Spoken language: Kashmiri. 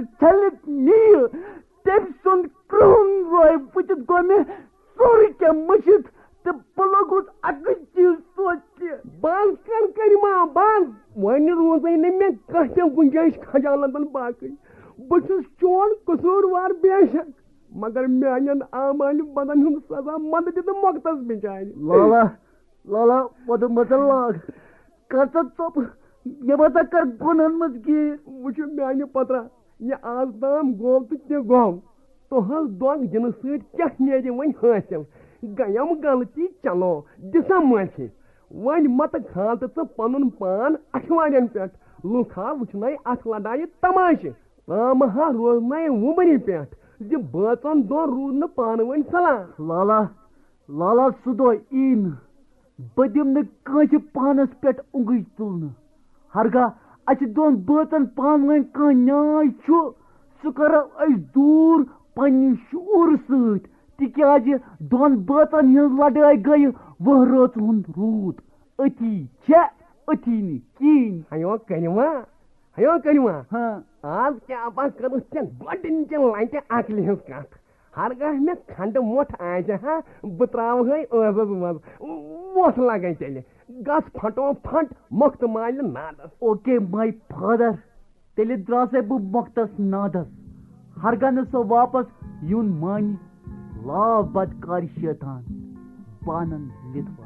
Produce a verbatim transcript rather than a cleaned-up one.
چھٔلِتھ نِیہِ، تٔمۍ سُنٛد کرٛہُن روے وٕچھِتھ گوٚو مےٚ سورُے کینٛہہ مٔشِتھ، تہٕ بہٕ لوٚگُس اَکٕے چیٖز سونٛچنہِ۔ بہٕ حظ کَرٕ کریٖما، بہٕ حظ، وۄنۍ روٗزٕے نہٕ مےٚ کانٛہہ تہِ گُنجٲیِش خجالتَن باقٕے۔ بہٕ چھُس چون قصوٗروار بے شک، مگر میٛانٮ۪ن اعمالہِ بدن ہُنٛد سزا مَتہٕ دِ تہٕ مۄکتَس بِچارِ۔ لالا، لالا، وۄدٕ مَتہٕ لاگ۔ کر ژٕ ژوٚپ، مےٚ ما ژٕ کر گۄنہن منٛز گیٖر۔ وٕچھِو میانہِ پترا، یہِ آز تام گوٚو تہٕ تہِ گوٚو۔ تُہنٛز دۄنٛگ دِنہٕ سۭتۍ کیٛاہ نیرِ وۄنۍ حٲصِل؟ گٔیم غلطی، چلو دِسا معٲفی۔ وۄنۍ متہٕ کھال تہٕ ژٕ پنُن پان اچھوارٮ۪ن پٮ۪ٹھ۔ لُکھ ہا وٕچھنَے اتھ لڑایہِ تماشہٕ۔ تام ہا روزنَے وُمرِ پٮ۪ٹھ زِ بٲژن دۄن روٗد نہٕ پانہٕ ؤنۍ صلاح۔ لالا، لالا، سُہ دۄہ یی نہٕ۔ بہٕ دِمہٕ نہٕ کٲنٛسہِ پانس پٮ۪ٹھ اونٛگٕج تُلنہٕ۔ ہرگاہ اسہِ دۄن بٲژن پانہٕ ؤنۍ کانٛہہ نیاے چھُ، سُہ کرو أسۍ دوٗر پننہِ شعوٗرٕ سۭتۍ، تِکیازِ دۄن بٲژن ہٕنٛز لڑٲے گٔیہِ وُہہ رٲژ ہُنٛد روٗد۔ أتی چھےٚ، أتی نہٕ کِہیٖنۍ۔ ہیو کٔرِوا، ہیو کٔرِوا۔ ہاں۔ آز کیٛاہ پا کٔرٕتھ ژےٚ گۄڈٕنِچہِ لٹہِ عقلہِ ہٕنٛز کتھ؟ ہرگاہ مےٚ کھنٛڈٕ مۄٹھ آسہِ ہا، بہٕ ترٛاوہے ٲسس منٛز۔ وۄٹھ لگے تیٚلہِ۔ گژھ پھٹو پھٹ مۄختہٕ مالہِ نادس۔ Okay, my father. تیٚلہِ درٛاسے بہٕ مۄختس نادس۔ ہرگاہ نہٕ سۄ واپس یُن مانہِ، لاو بدکارِ شیطان، پانن لِتھ۔